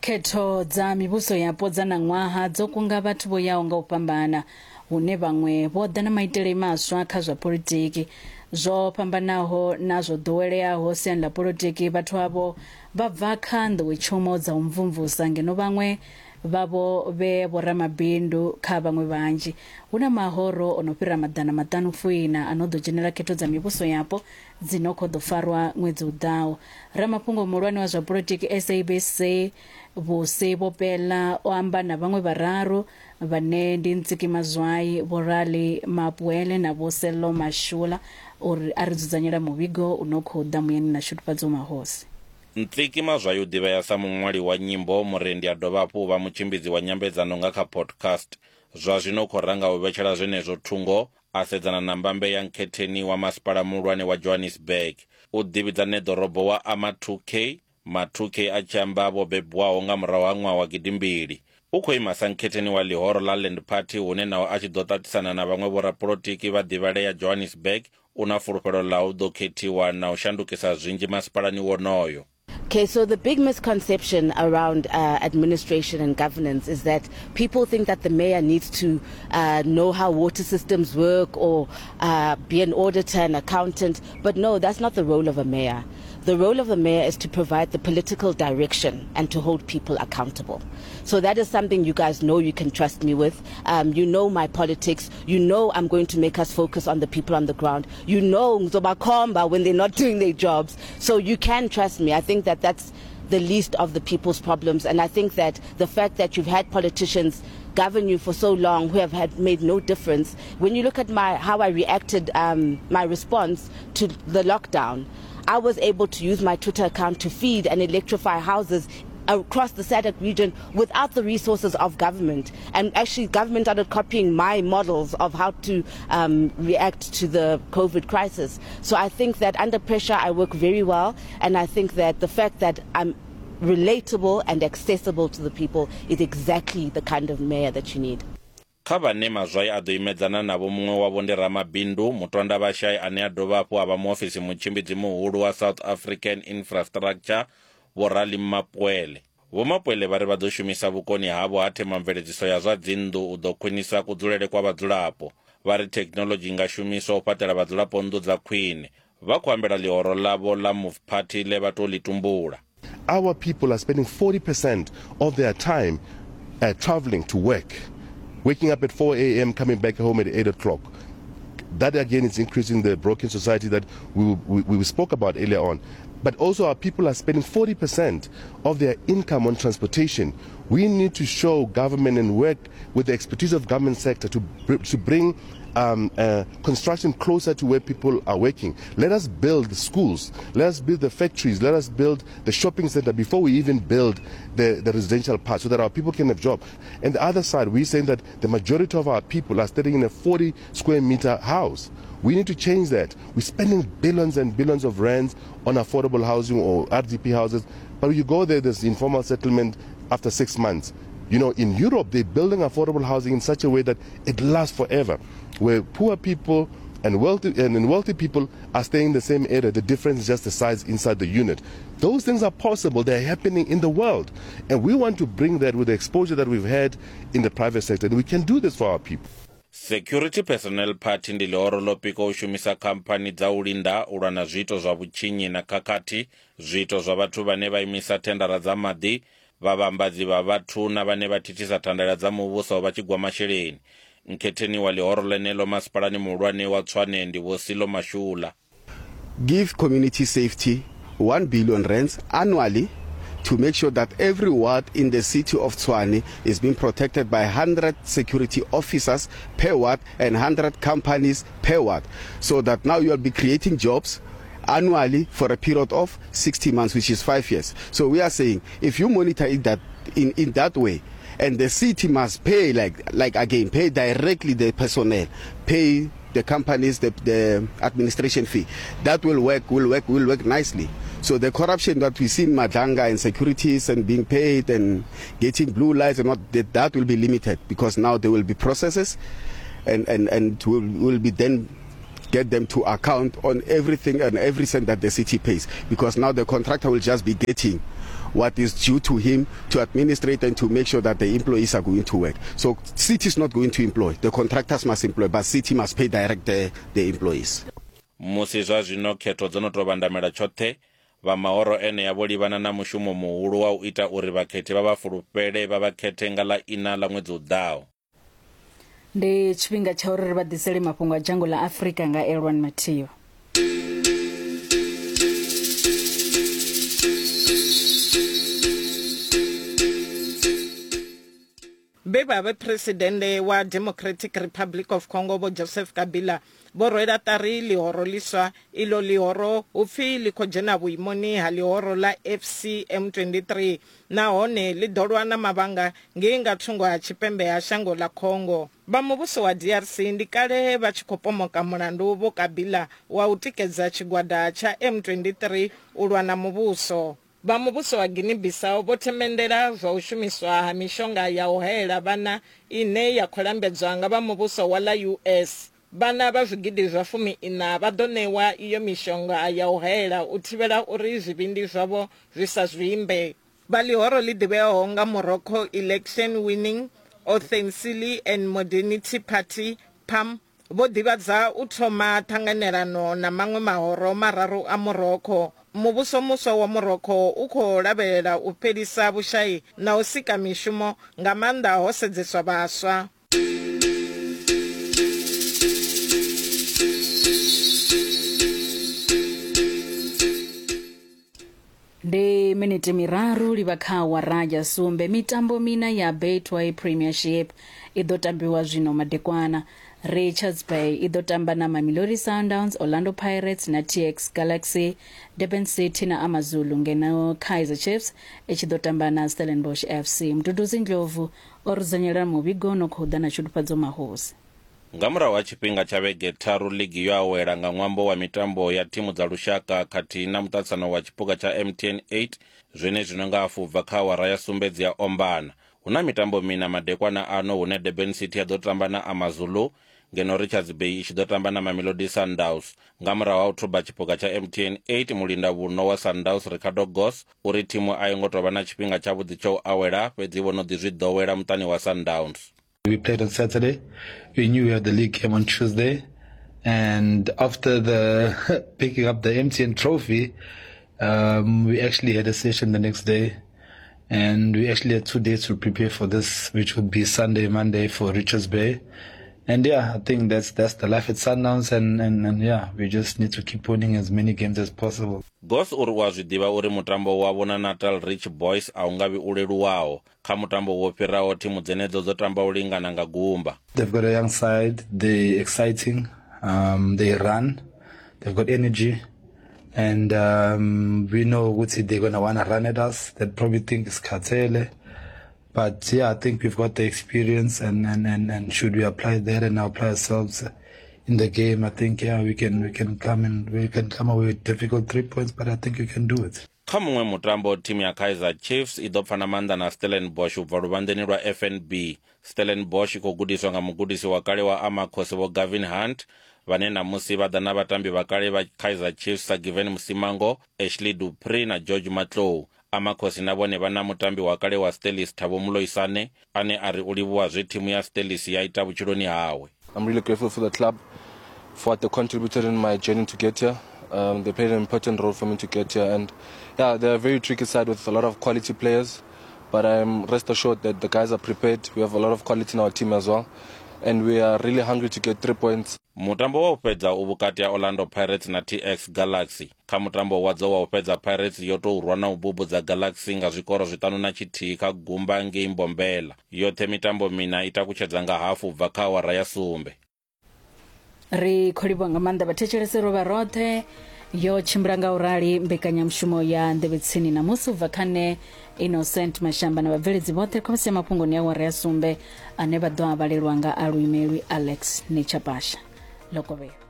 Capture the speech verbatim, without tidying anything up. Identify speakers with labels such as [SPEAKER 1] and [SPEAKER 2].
[SPEAKER 1] Khetho dza mivhuso yapo dza ṋaṅwaha dzo kunga vhathu vho yaho nga u fhambana, hune vhaṅwe vho ḓa na maitele maswa kha zwa politiki zwo fhambanaho na zwo ḓoweleaho siani ḽa politiki. Vhathu avho vha bva kha nḓowetshumo dza u mvumvusa, ngeno vhaṅwe vhavho vhe vhoramabindu. Kha vhaṅwe vhanzhi, hu na mahoro o no fhira maḓana maṱanu fuiṋa a no ḓo dzhenela khetho dza mivhuso yapo dzi no khou ḓo farwa ṅwedzi u ḓaho. Ramafhungo muhulwane wa zwa politiki S A B C Vhusi Bopela o amba na vhaṅwe vhararu, vhane ndi Ntsiki Mazwai, Vho Rali Mapwele na Vho Sello Mashula, uri a ri dzudzanyela muvhigo u no khou ḓa muyani na Shudufhadzo Mahosi.
[SPEAKER 2] Ntsiki Mazwai u ḓivhea sa muṅwali wa nyimbo, murendi, a dovha hafhu u vha mutshimbidzi wa nyambedzano nga kha podcast. Zwa zwino u khou ranga u vhetshela zwenezwo thungo, a sedzana na mbambe ya nkhetheni wa masipala muhulwane wa Johannesburg. U ḓivhidza neḓorobo wa ama two K, ma two K a tshi amba vho bebwaho nga murahu ha ṅwaha wa gidimbili. U khou ima sa nkhetheni wa ḽihoro ḽa Land Party, hune naho a tshi ḓo ṱaṱisana na vhaṅwe vhorapolotiki vha ḓivhalea Johannesburg, u na fulufhelo ḽa u ḓo khethiwa na u shandukisa zwinzhi masipalani wonoyo.
[SPEAKER 3] Okay, so the big misconception around uh, administration and governance is that people think that the mayor needs to uh, know how water systems work or uh, be an auditor and accountant. But no, that's not the role of a mayor. The role of the mayor is to provide the political direction and to hold people accountable. So that is something you guys know you can trust me with. Um, you know my politics. You know I'm going to make us focus on the people on the ground. You know ngizobakhomba when they're not doing their jobs. So you can trust me. I think that that's the least of the people's problems. And I think that the fact that you've had politicians govern you for so long who have had made no difference. When you look at my how I reacted, um, my response to the lockdown, I was able to use my Twitter account to feed and electrify houses across the SADC region without the resources of government. And actually, government started copying my models of how to um, react to the COVID crisis. So I think that under pressure, I work very well. And I think that the fact that I'm relatable and accessible to the people is exactly the kind of mayor that you need.
[SPEAKER 2] Kha vhane Mazwai a ḓo imedzana navho, muṅwe wavho ndi ramabindu Mutwanda Vhashai, ane a dovha hafhu a vha muofisi mutshimbidzi muhulu wa South African Infrastructure. Vho Rali Mapwele, Vho Mapwele vha ri vha ḓo shumisa vhukoni havho ha themamveledziso ya zwa dzinnḓu u ḓo khwinisa kudzulele kwa vhadzulapo. Vha ri thekhinoḽodzhi i nga shumiswa u fhaṱela vhadzulapo nnḓu dza khwine. Vha khou ambela ḽihoro ḽavho ḽa Move Party ḽe vha tou ḽi tumbula.
[SPEAKER 4] Our people are spending forty percent of their time uh, traveling to work, waking up at four a m, coming back home at eight o'clock. That again is increasing the broken society that we, we, we spoke about earlier on. But also, our people are spending forty percent of their income on transportation. We need to show government and work with the expertise of government sector to, to bring um, uh, construction closer to where people are working. Let us build the schools, let us build the factories, let us build the shopping center before we even build the, the residential part so that our people can have jobs. And the other side, we're saying that the majority of our people are staying in a forty square meter house. We need to change that. We're spending billions and billions of rands on affordable housing or R D P houses, but you go there, there's informal settlement after six months. You know, in Europe, they're building affordable housing in such a way that it lasts forever, where poor people and wealthy and wealthy people are staying in the same area. The difference is just the size inside the unit. Those things are possible. They're happening in the world. And we want to bring that with the exposure that we've had in the private sector. And we can do this for our people.
[SPEAKER 2] Security Personnel Party ndi ḽihoro ḽo pikwa u shumisa khamphani dza u linda u lwa na zwiito zwa vhutshinyi na khakhathi, zwiito zwa vhathu vhane vha imisa thendara dza maḓi, vhavhambadzi vha vhathu na vhane vha thithisa thandela dza muvhuso vha tshi gwa masheleni. Nkhetheni wa ḽihoro ḽeneḽo masipalani muhulwane wa Tshwane ndi Vho Silo Mashula.
[SPEAKER 5] Give community safety one billion rands annually to make sure that every ward in the city of Tshwane is being protected by one hundred security officers per ward and one hundred companies per ward. So that now you will be creating jobs annually for a period of sixty months, which is five years. So we are saying if you monitor it that in, in that way, and the city must pay, like like again, pay directly the personnel, pay the companies the, the administration fee. That will work, will work, will work nicely. So the corruption that we see in Madlanga and securities and being paid and getting blue lights and what that, that will be limited because now there will be processes and and and will will be then get them to account on everything and every cent that the city pays, because now the contractor will just be getting what is due to him to administrate and to make sure that the employees are going to work. So city is not going to employ. The contractors must employ, but city must pay direct the, the employees.
[SPEAKER 2] Musi zwa zwino khetho dzo no tou vhandamela tshoṱhe, vha mahoro enea vho livhana na mushumo muhulu wa u ita uri vhakhethi vha vha fulufhele vha vha khethe nga ḽa ina ḽa ṅwedzi u ḓaho.
[SPEAKER 1] Ndi tshifhinga tsha uri ri vha ḓisele mafhungo a dzhango ḽa Afrika nga Elwan Mathio.
[SPEAKER 6] Vhe vha vhe presidennde wa Democratic Republic of Congo Vho Joseph Kabila vho rwela ṱari ḽihoro ḽiswa. Iḽo ḽihoro hu pfi ḽi khou dzhena vhuimoni ha ḽihoro ḽa F C M twenty-three nahone ḽi ḓo lwa na mavhanga ngei nga thungo ha tshipembe ha shango ḽa Congo. Vha muvhuso wa D R C ndi kale vha tshi khou pomoka mulandu Vho Kabila wa u tikedza tshigwada tsha M twenty-three u lwa na muvhuso. Vha muvhuso wa Guinea-Bissau vho themendela zwa u shumiswa ha mishonga ya u haela vhana ine ya khou lambedzwa nga vha muvhuso wa ḽa U S. Vhana vha zwigidi zwa fumi ina vha ḓo ṋewa iyo mishonga ya u haela u thivhela uri zwivhindi zwavho zwi sa zwimbe. Vha ḽihoro ḽi ḓivheaho nga Morocco Election Winning Authenticity and Modernity Party P A M vho ḓivhadza u thoma ṱhanganelano na maṅwe mahoro mararu a Morocco. Muvhuso muswa wa Morocco u khou lavhelela u fhelisa vhushai na u sika mishumo nga maanḓa ho sedzeswa vhaswa.
[SPEAKER 1] Ndi miniti miraru livha kha awara ya sumbe. Mitambo mina ya Betway Premiership i ḓo tambiwa zwino madekwana. Richards Bay i ḓo tamba na Mamelodi Sundowns, Orlando Pirates na T X Galaxy, Durban City na AmaZulu, ngeno Kaizer Chiefs i tshi ḓo tamba na Stellenbosch F C. Mduduzi Ndlovu o rudzanyela muvhigo no khou ḓa na tshudufhadzo mahosi.
[SPEAKER 2] Nga murahu ha tshifhinga tsha vhege tharu ligi yo awela nga ṅwambo wa mitambo ya thimu dza lushaka khathihi na muṱaṱisano wa tshiphuga tsha M T N eight, zwenezwino nga hafu bva kha awara ya sumbe dzi a ombana. Hu na mitambo mina madekwana ano hune Durban City ya ḓo tamba na AmaZulu, ngeno Richards Bay i tshi ḓo tamba na Mamelodi Sundowns. Nga murahu ha u thuba tshiphuga tsha M T N eight, mulinda vhuno wa Sundowns Ricardo Goss uri thimu a yo ngo tou vha na tshifhinga tshavhuḓi tsha u awela, fhedzi vho no ḓi zwi ḓowela muṱani wa Sundowns.
[SPEAKER 7] We played on Saturday. We knew we had the league game on Tuesday. And after the picking up the M T N trophy, um, we actually had a session the next day. And we actually had two days to prepare for this, which would be Sunday, Monday for Richards Bay. And yeah, I think that's that's the life at Sundowns. And, and, and yeah, we just need to keep winning as many games as possible.
[SPEAKER 2] Goss uri wa zwi ḓivha uri mutambo wavho na Natal Rich Boys a u nga vhi u leluwaho. Kha mutambo wo fhiraho thimu dzenedzo dzo tamba u lingana nga gumba.
[SPEAKER 7] They've got a young side, they're exciting, um, they run, they've got energy, and um, we know ukuthi they're gonna wanna run at us. They probably think it's Katele. But yeah, I think we've got the experience, and, and, and, and should we apply that and apply ourselves in the game, I think yeah we can we can come and we can come away with difficult three points, but I think we can do it.
[SPEAKER 2] Kha muṅwe mutambo, thimu ya Kaizer Chiefs i ḓo pfa na maanḓa na Stellenbosch u bva luvhanḓeni lwa F N B. Stellenbosch i khou gudiswa nga mugudisi wa kale wa Amakhosi Vho Gavin Hunt, vhane namusi vha ḓa na vhatambi vha kale vha Kaizer Chiefs sa Given Msimango, Ashley Dupree na George Matlou. Amakhosi na vhone vha na mutambi wa kale wa Stellies Thabo Moloisane ane a ri u livhuwa zwe thimu ya Stellies ya ita vhutshiloni hawe.
[SPEAKER 8] I'm really grateful for the club for what they contributed in my journey to get here. Um, they played an important role for me to get here, and yeah, they're a very tricky side with a lot of quality players, but I'm rest assured that the guys are prepared. We have a lot of quality in our team as well, and we are really hungry to get three points.
[SPEAKER 2] Mutambo wa u fhedza u vhukati ha Orlando Pirates na T X Galaxy. Kha mutambo wadzo wa u fhedza, Pirates yo tou rwa na u bubudza Galaxy nga zwikoro zwiṱanu na tshithihi kha gumba ngei Mbombela. Yoṱhe mitambo mina i takutshedza nga hafu bva kha awara ya sumbe.
[SPEAKER 1] Ri khou livhuwa nga maanḓa vhathetshelesi ro vha roṱhe. Yo tshimbila nga u rali mbekanyamushumo ya Nḓevhe Tsini na musi u bva kha nṋe Innocent Mashamba na vhabveledzi vhoṱhe khomisi ya mafhungoni ya awara ya sumbe ane vha ḓo a vhalelwa nga aluimelwi Alex Nechapasha. Lokovhela.